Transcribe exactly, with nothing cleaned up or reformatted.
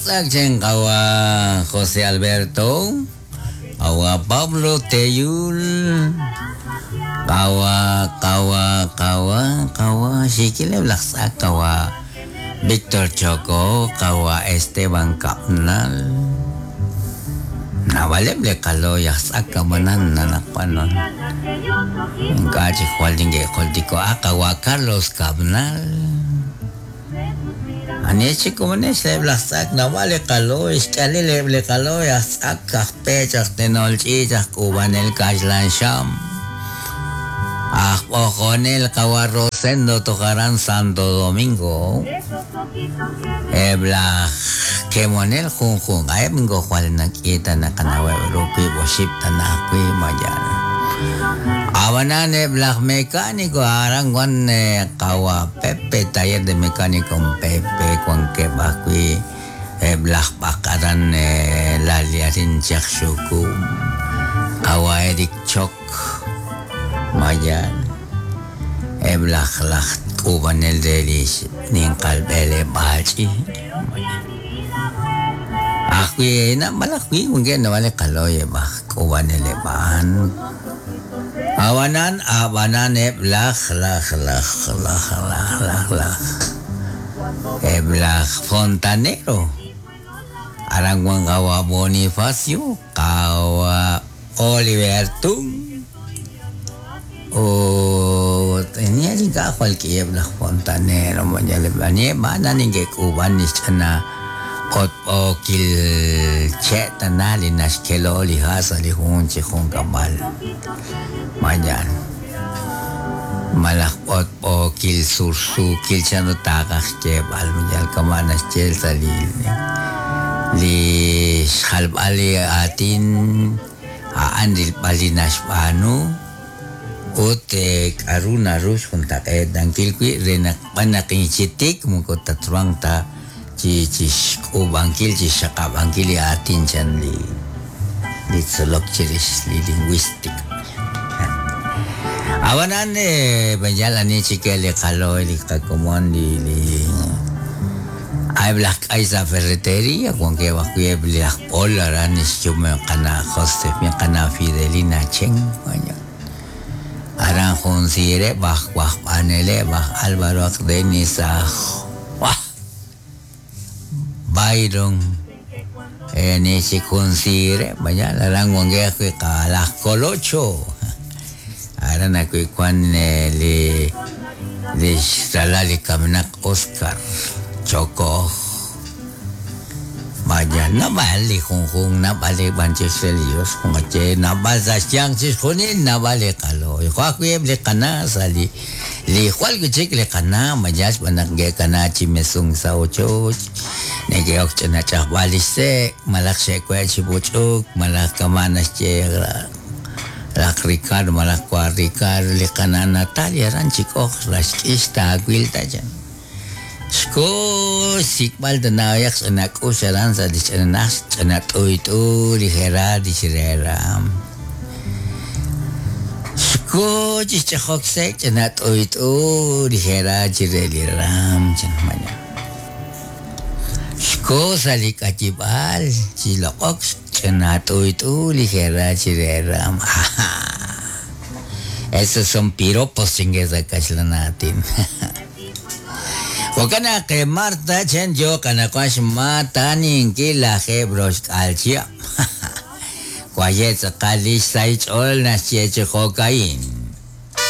Kawa José Alberto, Kawa Pablo Teyul, Kawa Kawa Kawa Kawa Sikile Laksa Kawa Víctor Choco, Kawa Esteban Capnal. Nawaleb le kalo yaxsak kamanan nanakpanon. Kachi Jualdingue Joltico Kawa Carlos Cabnal. Ani chico manes le blazak nawale kalo iskali le ble kalo yaxsak kajpech tenolchi kubanel kashlan sham. Ojonel Kawa Rosendo tocarán Santo Domingo. Ebla kemonel junjun aebngo jual nakita nakanawe rupi boship tanakui mayan. Abanan ebla mecánico aranguan kawa Pepe taller de mecánico Pepe con que bakui ebla bakaran la liarin chaksuku kawa Eric Chok mayan. Ebla laj kubanel delis ninkalbele bachi. Akwi na malakwi kung na wale kaloy ba kubanele ban. Awanan abanan eblaj laj laj laj laj laj laj. Eblaj fontanero. Aranguan kawa Bonifacio kawa Oliver Tum. O tenía llegado cualquier fontanero, mañana le van a ni que cuban ni chana ot o kil cheta nali nashkelo li hasa li junchi junkamal mañana malak ot o kil sursu kil chano takak che al mañana kamana chel sali li xalbali atin a andil bali nashbanu Ote karuna rus junta dankilqui renak panakinchitik mukotatruanta chi chi ubankil chi shaqabankil atin chan li li tzolok chiris li lingüística. Abanan bayala ni chikele kalo li kakomon li li ay blak ay sa ferretería con que bajo blak polaran es yo me cana José me cana Fidelina Chen Aran Junsire, Baj, Baj, Anele, Baj, Álvaro, Denis, Wah, Byron, Enichi Junsire, vaya, Aran Wangue, Kalas Colocho, Aran Acuicuan, Li, Li, Salali, Kaminak, Oscar, Choco, Vaya, nabali, junjun, nabali, banches religios, jungache, nabal, sasyan, sisjunin, nabali, kalo. Joaquim, le cana, sali, li, jual, guchik, le cana, mayas, banangue, cana, chimesung, sauchoch, negue, ochena, chahbali, se, malak, seque, chibuchuk, malak, kamanas, chegra, lak, Ricardo, malak, cua, Ricardo, le cana, Natalia, ranchico, rasquista, aguilta, ya. Xko sikbal tanayak sa nakusaran sa disananas sanatoy ligera disirera. Xko chichahokse sanatoy ligera chireliram chanmanya. Xko salikachibal chilokok sanatoy ligera chireram. Esos son piropos chingues kachlanatin. Wakana ke Marta chen yo kana kwash matanin kila hebros alchia. Kwayet kalish saich ol na chieche hokain.